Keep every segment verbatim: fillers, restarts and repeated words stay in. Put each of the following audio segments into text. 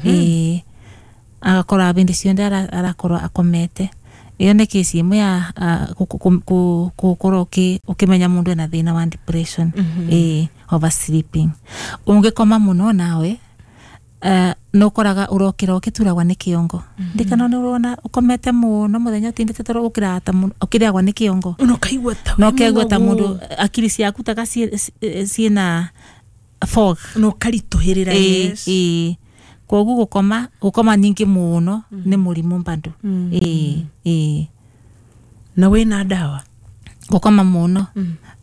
Ĩĩ, agakorwo bindi cionthe ara- arakorwo akomete. Iyo nĩ kesi ĩmwe ya ah, gukorwo ũkĩmenya mũndũ ena thĩna wa depression. Ĩĩ, oversleeping. Ũngĩkoma mũno nawe uh, nĩ ũkoraga ũrokĩra ũkĩturagwo nĩ kĩongo. Ndikana nĩ ũrona ũkomete mũno mũthenya ũtindĩte toro, ũkĩraga ta mũno- ũkĩrĩagwo nĩ kĩongo. Na ũkaigua ta na wĩ ũkaigua ta mũnogu. Mũndũ akiri ciaku taka ciĩ- ciĩna fog. Na ũkaritũhĩrĩra. Ĩĩ, yes. Ĩĩ, koguo gũkoma gũkoma nyingĩ mũno nĩ mũrimũ bado. Ĩĩ, ĩĩ. Na wĩna ndawa? Gũkoma mũno,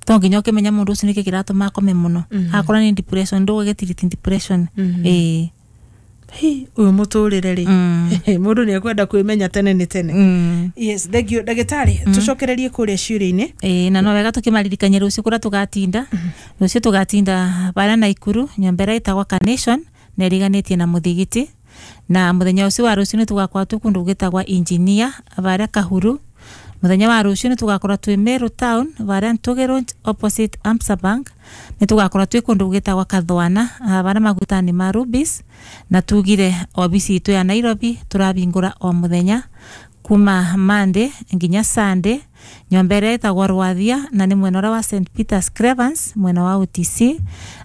to nginya ũkĩmenya mũndũ ũcio nĩkĩ kĩratũma akome mũno. Akorwo nĩ depression, ndũgũgĩtiriti depression. Ĩĩ. Hi, ũyũ mũtũrĩre rĩ, Mm. mũndũ nĩ ekwenda kwĩmenya tene nĩ tene. Mm. Yes, thank you, ndagĩtarĩ. Tũcokererie kũrĩa ciũria-inĩ. Ĩĩ, na no wega tũkĩmaririkania rũciũ kũrĩa tũgatinda. Rũciũ tũgatinda barĩa Naikuru, nyũmba ĩrĩa ĩtagwo Carnation na ĩriganĩtie na mũthigiti. Na mũthenya ũcio wa rũciũ nĩ tũgakorwo twĩ kũndũ gwĩtagwo Engineer barĩa Kahuru. Mũthenya wa rũciũ nĩ tũgakorwo twĩ Meru Town barĩa Ntũgĩ Road opposite Amsa Bank. Nĩ tũgakorwo twĩ kũndũ gwĩtagwo Kathwana, ah, barĩa magutani ma Rubis. Na tugire obici itũ ya Nairobi tũrabingũra o mũthenya kuma Monday nginya Sunday, nyũmba ĩrĩa ĩtagwo Rwathia na nĩ mwena ũrĩa wa Saint Peters Cravens, mwena wa O T C,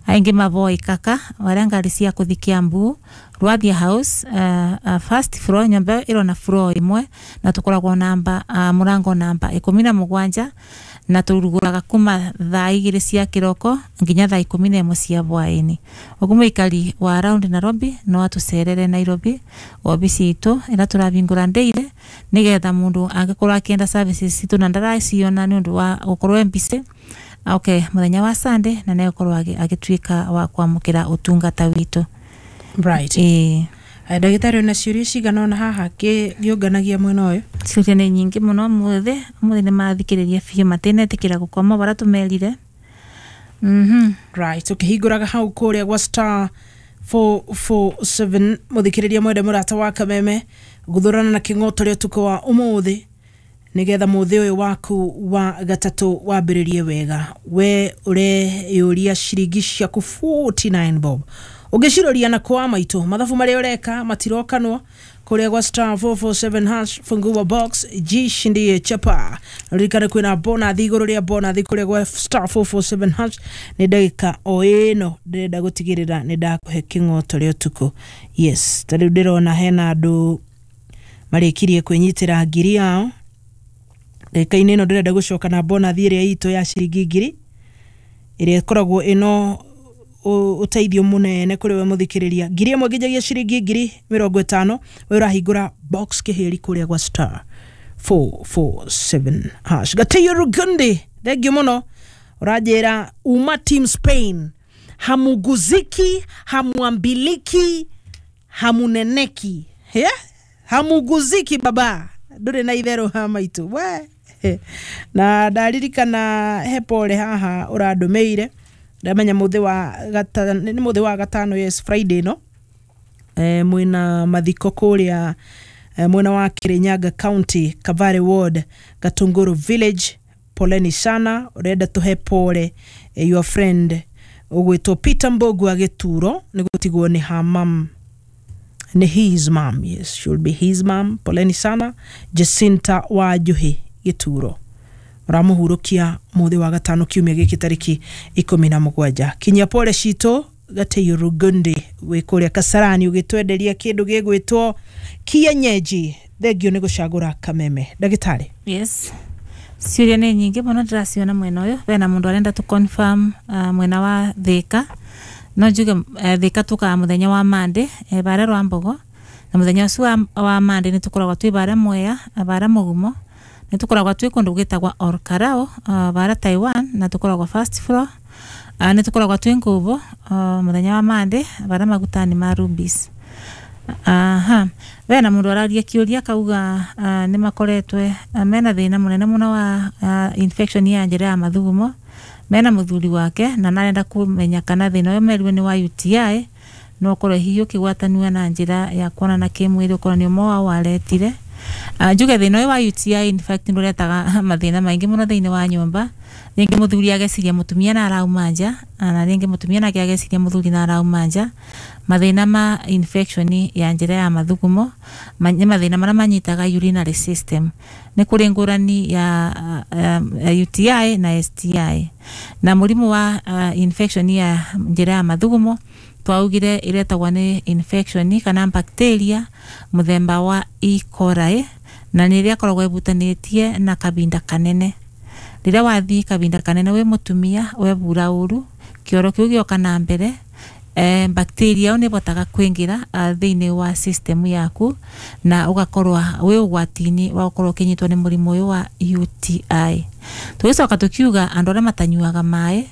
aingĩ mavoĩ kaka barĩa ngari cia kũthi Kiambu, Rwathia House, uh, uh, first floor. Nyũmba ĩyo ĩrona floor ĩmwe na tũkoragwo namba uh, mũrango namba ikũmi na mũgwanja, na tũrugũraga kuma thaa igĩrĩ cia kĩroko nginya thaa ikũmi na ĩmwe cia hwaĩ-inĩ. Ũguo mũikari wa around Nairobi no atũcerere Nairobi obici itũ ĩrĩa tũrabingũra ndeire, nĩgetha mũndũ angĩkorwo akĩenda services citũ na ndaraciona nĩ ũndũ wa gũkorwo e busy, okay mũthenya wa Sunday na nĩegũkorwo agĩ- agĩtuĩka wa kwamũkĩra ũtungata witũ. Right. Ĩĩ. Ndagĩtarĩ, ona ciũria cigana ona haha ngĩũnganagia mwena ũyũ. Ciũria nĩ nyingĩ mũno ũmũthĩ. Ũmũthĩ nĩ mathikĩrĩria biũ, matinetĩkĩra gũkoma barĩa tũmerire. Mhm. Right, ũkĩhingũraga hau kũrĩa gwa star four four seven, mũthikĩrĩria mwende, mũrata wa Kameme, guthurana na kĩng'oto rĩa ũtukũ wa ũmũthĩ, nĩgetha mũthĩ ũyũ waku wa gatatũ wambĩrĩrie wega. We ũreyũria ciringi ciaku forty-nine bob ũngĩciroria na kwa maitũ, mathabu marĩa ũreka matirokanwo kũrĩa gwa star four four seven hash, fungua box, jishindie chapa. Ririkane kwĩna bonathi igũrũ rĩa bonathi kũrĩa gwa star four four seven hash. Nĩ ndagĩka o ĩno ndĩrenda gũtigĩrĩra nĩ ndakũhe kĩng'oto rĩa ũtukũ. Yes, ta rĩu ndĩrona hena andũ marĩkirie kwĩnyitĩra ngiri yao. Ndagĩka-inĩ ĩno ndĩrenda gũcoka na bonathi ĩrĩa itũ ya ciringi ngiri, ĩrĩa ĩkoragwo ĩno ũ- ũteithio mũnene kũrĩ we mũthikĩrĩria. Ngiri ĩmwe nginyagia ciringi ngiri mĩrongo ĩtano, we ũrahingũra box kĩhĩri kũrĩa gwa star four four seven hash. Gatĩio Rugundi, thengiũ mũno. Ũranjĩra uma team Spain, hamuguziki, hamuambiliki, hamuneneki, yeah? Hamuguziki baba, ndũrĩ na itherũ ha maitũ we. Na ndaririkana he pole haha ũrandũmĩire. Ndamenya mũthĩ wa gata, nĩ mũthĩ wa gatano, yes, Friday no e, mwĩna mathiko kũrĩa e, mwena wa Kirinyaga County, Kavare Ward, Gatunguru Village. Poleni sana. Ũrenda tũhe pole e, your friend ũgwĩtwo Peter Mbogu agĩturo nĩ gũtigwo nĩ her mum, ni his mom, yes, should be his mom. Poleni sana, Jacinta wa Njuhi Gĩturo. Ũramũhurũkia mũthĩ wa gatano kiumia gĩkĩ tarĩki ikũmi na mũgwanja. Kinyia pole citũ Gatĩiũ Rugundi wĩ kũrĩa Kasarani, ũgĩtwenderia kĩndũ gĩgwĩtwo kienyeji. Thengio nĩ gũcagũra Kameme. Ndagĩtarĩ. Yes, ciũria nĩ nyingĩ mũno ndĩraciona mwena ũyũ. Bena mũndũ arenda tũ confirm uh, mwena wa Thĩka. No njuge uh, Thĩka tũkaga mũthenya wa Monday, eh, barĩa rwa Mbogo, na mũthenya ũcio wa, wa Monday nĩ tũkoragwo twĩ barĩa Mwea, barĩa Mũgumo. Nĩ tũkoragwo twĩ kũndũ gwĩtagwa Orkarao, uh, barĩa Taiwan, na tũkoragwo first floor. uh, nĩ tũkoragwo twĩ Ngũbũ uh, mũthenya wa Monday barĩa magutani ma Rubis. Aha, bena mundu araria kiuria akauga uh, nĩ makoretwe uh, mena thĩna mũnene mũno wa uh, infection ya njĩra ya mathugumo mena mũthuri wake, na narenda kũmenya kana thĩna ũyũ merirwe nĩ wa U T I, no ũkorwo hihi ũkĩgwatanio na njĩra ya kuonana kĩmwĩrĩ, ũkorwo nĩ ũmwe wao waretire. Uh, njuge thĩna ũyũ wa U T I in fact nĩũretaga mathĩna maingĩ mũno thĩinĩ wa nyũmba. Rĩngĩ mũthuri ageciria mũtumia na arauma nja, na rĩngĩ mũtumia nake ageciria mũthuri na arauma nja. Mathĩna ma infection ya njĩra ya mathugumo ma, nĩ mathĩna marĩa manyitaga urinary system. Nĩ kũrĩ ngũrani ya uh, U T I na S T I. Na mũrimũ wa uh, infection ya njĩra ya mathugumo twaugire iretagwo nĩ infection kana bacteria mũthemba wa E. coli, na nĩ ĩrĩa ĩkoragwo ĩbutanĩtie na kabinda kanene. Rĩrĩa wathiĩ kabinda kanene wĩ mũtumia webura ũru, kĩoro kĩu gĩoka na mbere, eh, bacteria ĩyo nĩĩbotaga kwĩngĩra uh, thĩinĩ wa system yaku na ũgakorwo wĩ ũgwati-inĩ wa gũkorwo ũkĩnyitwo nĩ mũrimũ ũyũ wa U T I. Tũgĩcoka tũkiuga andũ arĩa matanyuaga maĩ,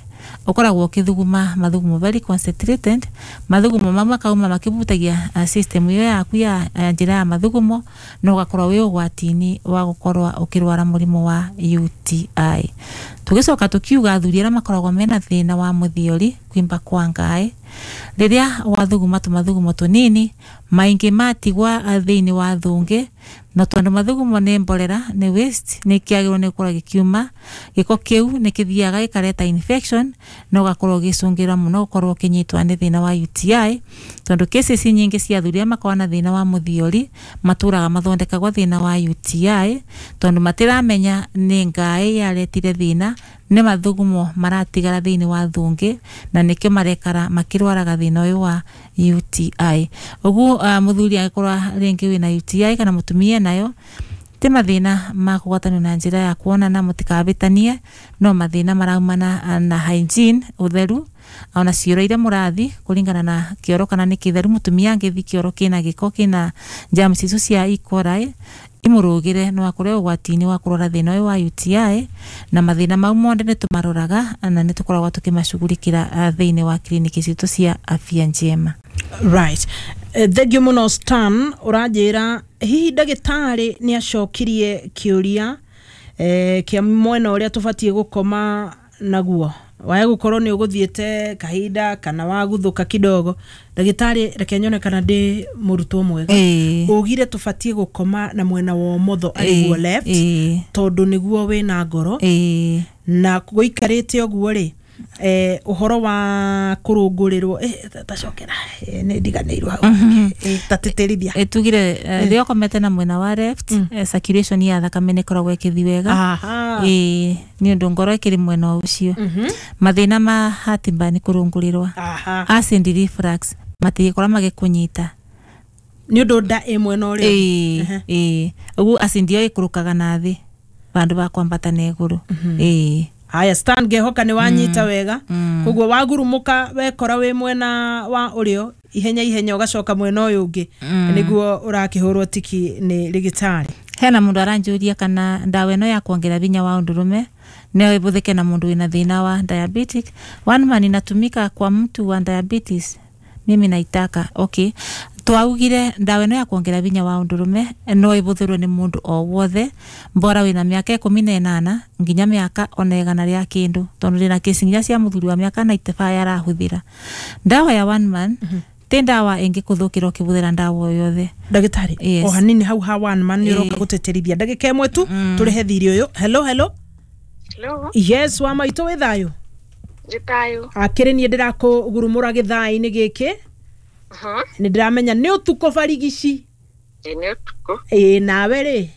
ũkoragwo ũkĩthuguma mathugumo very concentrated, mathugumo mamwe makauma makĩbutagia uh, system ĩyo yaku ya uh, njĩra ya mathugumo, na ũgakorwo wĩ ũgwati-inĩ wa gũkorwo ũkĩrwara mũrimũ wa U T I. Tũgĩcoka tũkiuga athuri arĩa makoragwo mena thĩna wa mũthiori, kwimba kwa ngaĩ, rĩrĩa wathuguma tũmathugumo tũnini maingĩ matigwa thĩinĩ wa thũngĩ, na tondũ mathugumo nĩ mborera, nĩ waste, nĩ kĩagĩrĩirwo nĩ gũkorwo gĩkiuma, gĩko kĩu nĩ kĩthiaga gĩkareta infection na ũgakorwo ũgĩcũngĩra mũno gũkorwo ũkĩnyitwo nĩ thĩna wa U T I, tondũ cases nyingĩ cia athuri arĩa makoragwo na thĩna wa mũthiori matũraga mathondekagwo thĩna wa U T I, tondũ matiramenya nĩ ngaĩ yaretire thĩna, nĩ mathugumo maratigara thĩinĩ wa thũngĩ na nĩkĩo marekara makĩrwaraga thĩna ũyũ wa U T I. Ũguo uh, mũthuri angĩkorwo rĩngĩ wĩna U T I kana mũtumia nayo, ti mathĩna ma kũgwatanio na njĩra ya kuonana, mũtikabĩtanie, no mathĩna maraumana na hygiene, ũtheru, ona cioro iria mũrathi kũringana na kĩoro kana nĩ kĩtheru. Mũtumia angĩthi kĩoro kĩna gĩko kĩna germs icio cia E. coli imũrũgĩre, no akorwo ũgwati-inĩ wa kũrwara thĩna ũyũ wa U T I, na mathĩna mau mothe nĩ tũmaroraga na nĩ tũkoragwo tũkĩmacugurikĩra thĩinĩ wa kliniki citũ cia Afya Njema. Right. Thank you mũno Stan. Ũranjĩra hihi ndagĩtarĩ nĩ acokirie kĩũria eh, kĩa mwena ũrĩa tũbatiĩ gũkoma naguo, wae gũkorwo nĩ ũgũthiĩte kahinda kana waguthũka kidogo. Ndagĩtarĩ, reke nyone kana ndĩ mũrutwo mwega. Ugire tũbatiĩ gũkoma na mwena wa ũmotho, arĩguo left, tondũ nĩguo wĩna ngoro, na gũikarĩte ũguo rĩ, eh, ũhoro wa kũrũngũrĩrwo, eh, tacokera, eh, nĩ ndiganĩirwo hau, eh, tatĩtĩrithia. Eh, tugire rĩrĩa ũkomete na mwena wa left, eh, circulation ya thakame nĩ ĩkoragwo ĩkĩthiĩ wega, eh, nĩ ũndũ ngoro ĩkĩrĩ mwena ũcio. Mathĩna ma heartburn nĩ kũrũngũrĩrwo, acid reflux matigĩkorwo magĩkũnyita nĩ ũndũ nda ĩ mwena ũrĩa, ĩĩ ĩĩ, ũguo acid ĩyo ĩikũrũkaga na thĩ vandũ va kwambata na igũrũ. Ĩĩ. Haya Stan, ngehoka nĩ wanyita wega. Koguo wagurumuka wekora wĩ mwena wa ũrĩo, ihenya ihenya ũgacoka mwena ũyũ ũngĩ, nĩguo ũrakĩhũrwo tiki nĩ rĩgĩtarĩ. Hena mũndũ aranjũria kana ndawa ĩno ya kuongerera vinya wa ũndũrũme no ĩbũthĩke na mũndũ wĩna thĩna wa diabetic. One man inatumika kwa mtu wa diabetes, mimi naitaka. Okay, twaugire ndawa ĩno ya kuongerera vinya wa ũndũrũme no ĩbũthĩrwo nĩ mũndũ o wothe, mbora wĩna mĩaka ikũmi na ĩnana nginya mĩaka ona igana rĩa kĩndũ, tondũ ndĩna kesi nginya cia mũthuri wa mĩaka ninety-five arahũthĩra ndawa ya one man. Ti ndawa ĩngĩkũthũkĩra ũkĩbũthĩra ndawa o yothe. Ndagĩtarĩ, Yes. o hanini hau ha one man nĩ ũroka gũtĩtĩrithia ndagĩka ĩmwe tu tũrĩhe thirĩ ũyũ. Hello, hello. Hello. Yes, wa maitũ wĩ thayũ? Nĩ thayũ. Akĩrĩ niĩ ndĩrakũgurumũra gĩthaa-inĩ gĩkĩ. Nĩ ndĩramenya nĩ ũtukũ barigici. Ĩ nĩ ũtukũ. Ĩ nawe rĩ?